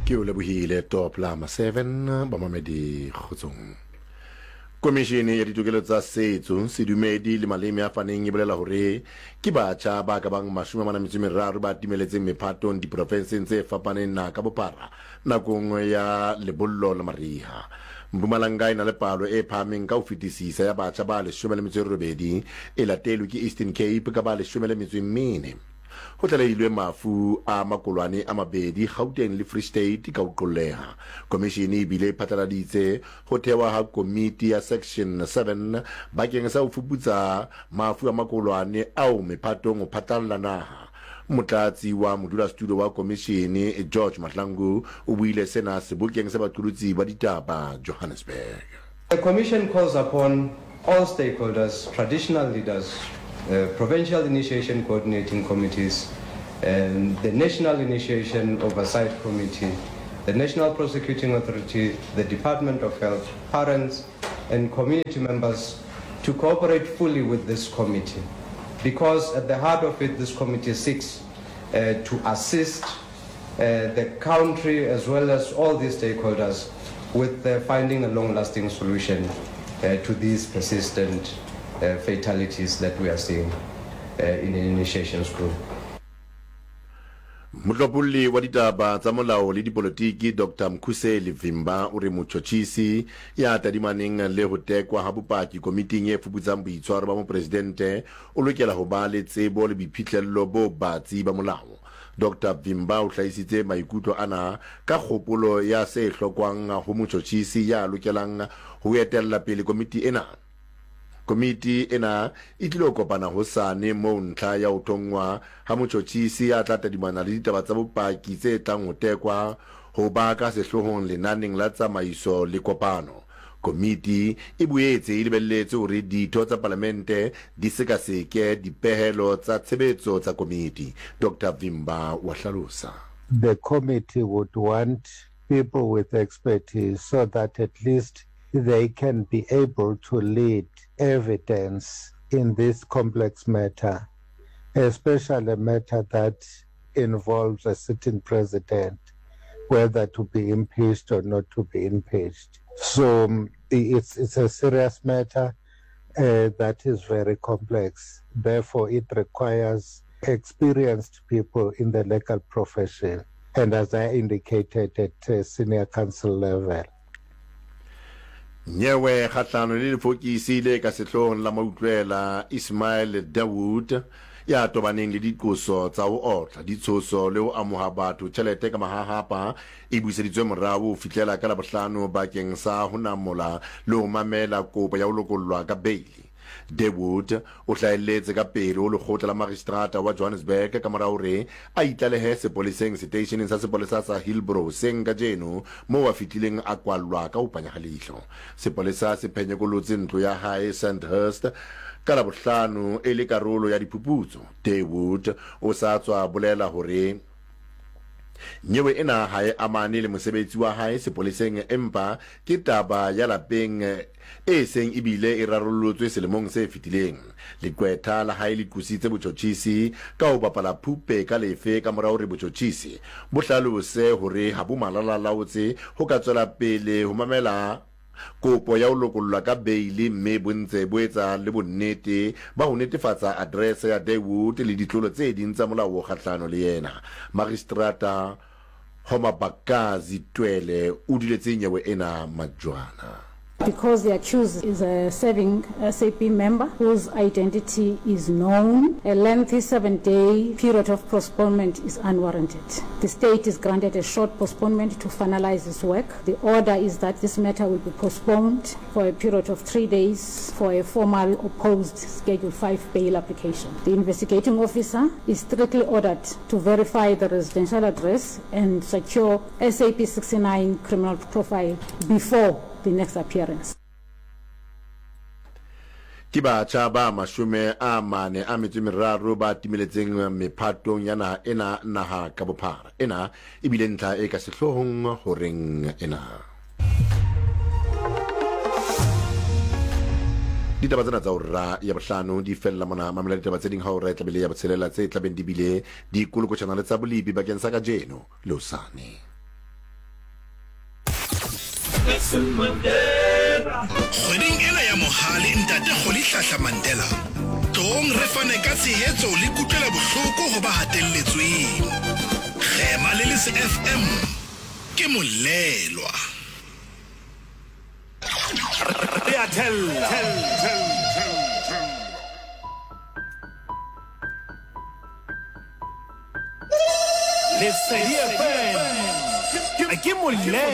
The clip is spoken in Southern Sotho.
Ke o lebohile Top Lama 7 bamamedi kgotsong. Komishene ya ditokelo tsa setso, sedumedi le maleme a faneng e bolela hore ke batjha ba ka bang 43 ba timeletseng mephatong diprofenseng tse fapaneng naha ka bophara nakong ya lebollo la mariha. Mpumalanga e na le palo e phahameng ka ho fetisisa ya batjha ba 18, e latelwe ke Eastern Cape ka ba 14. Ho tlalehilwe mafu a makolwane a mabedi Gauteng le Free State ka ho qolleha. Komishene e bile e phatlaladitse ho thewa ha komiti ya Section 7 bakeng sa ho fuputsa mafu a makolwane ao mephatong ho phatlalla naha. Motlatsi wa modulasetulo wa komishene George Mahlangu o buile sena sebokeng sa baqolotsi ba ditaba Johannesburg. The Commission calls upon all stakeholders, traditional leaders, uh, provincial initiation coordinating committees, and the National Initiation Oversight Committee, the National Prosecuting Authority, the Department of Health, parents, and community members to cooperate fully with this committee. Because at the heart of it, this committee seeks uh, to assist uh, the country as well as all these stakeholders with uh, finding a long-lasting solution uh, to these persistent uh, fatalities that we are seeing uh, in the initiation school. Mohlopholli wa ditaba tsa molao le dipolotiki Dr Mkhuseli Vimba o re motjhotjhisi ya tadimaneng le ho tekwa ha bopaki komiting e fuputsang boitshwaro ba mopresidente o lokela ho ba le tsebo le boiphihlello bo batsi ba molao. Doctor Vimba o hlahisitse maikutlo ana ka kgopolo ya se hlokwang ho motjhotjhisi ya lokelang ho etella pele komiti ena. Komiti ena e tlilo kopana hosane moo ntlha ya ho thonngwa ha motjhotjhisi ya tla tadimana le ditaba tsa bopaki tse tlang ho tekwa ho ba ka sehloohong lenaneng la tsamaiso le kopano. Komiti e boetse e lebelletse hore ditho tsa Palamente di sekaseke dipehelo tsa tshebetso tsa komiti, Doctor Vimba wa hlalosa. The committee would want people with expertise so that at least they can be able to lead evidence in this complex matter, especially a matter that involves a sitting president, whether to be impeached or not to be impeached. So um, it's, it's a serious matter uh, that is very complex. Therefore, it requires experienced people in the legal profession, and as I indicated, at uh, senior counsel level. Nyewe kgahlano le lefokisi le ka sehloohong la mautlwela Ismail Dawood ya tobaneng le diqoso tsa ho otla, ditshoso le ho amoha batho tjhelete ka mahahapa e buseditswe morao ho fihlela ka Labohlano bakeng sa ho namola le ho mamela kopo ya ho lokollwa ka beili. Dawood o hlahelletse ka pele ho lekgotla la magistrata wa Johannesburg ka mora hore a itlalehe sepoleseng seteisheneng sa sepolesa sa Hillbrow hoseng kajeno moo a fihlileng a kwallwa ka ho panya ha leihlo. Sepolesa se phenyekolotse ntlo ya hae Sandhurst ka Labohlano e le karolo ya diphuputso. Dawood o sa tswa bolela hore Nyewe ena ha e amane le mosebetsi wa hae sepoleseng empa ke taba ya lapeng e seng e bile e rarollotswe selemong se fetileng. Leqwetha la hae le qositse botjhotjhisi ka ho bapala phupe ka lefe ka mora hore botjhotjhisi bo hlalose hore ha bo malalalaotse ho ka tswela pele ho mamela kopo ya ho lokollwa ka beili mme bo ntse bo etsa le bonnete ba ho netefatsa aterese ya Dawood le ditlolo tse ding tsa molao kgahlano le yena. Magistrata Homabakazi Twele o duletse nyewe ena majwana. Because the accused is a serving SAP member whose identity is known, a lengthy 7-day period of postponement is unwarranted. The state is granted a short postponement to finalize its work. The order is that this matter will be postponed for a period of 3 days for a formal opposed Schedule 5 bail application. The investigating officer is strictly ordered to verify the residential address and secure SAP 69 criminal profile before the next appearance. Ke batjha ba 43 ba timeletseng mephatong ya naha ena naha ka bophara. Ena e bile ntlha e ka sehloohong horeng ena. Ditaba tsena tsa hora ya bohlano di fella mona. Mamela ditaba tse ding ha hora e tla be le ya botshelela tse tla beng di bile di kolokotjhana le tsa bolipi bakeng sa kajeno le hosane. Kgweding ena ya Mohale Ntate Rholihlahla Mandela, tloong re fane ka tshehetso le kutlwelobohloko ho ba hatelletsweng. Kgema le Lese FM ke molelwa. Re a thella. Lesedi FM ke molelwa.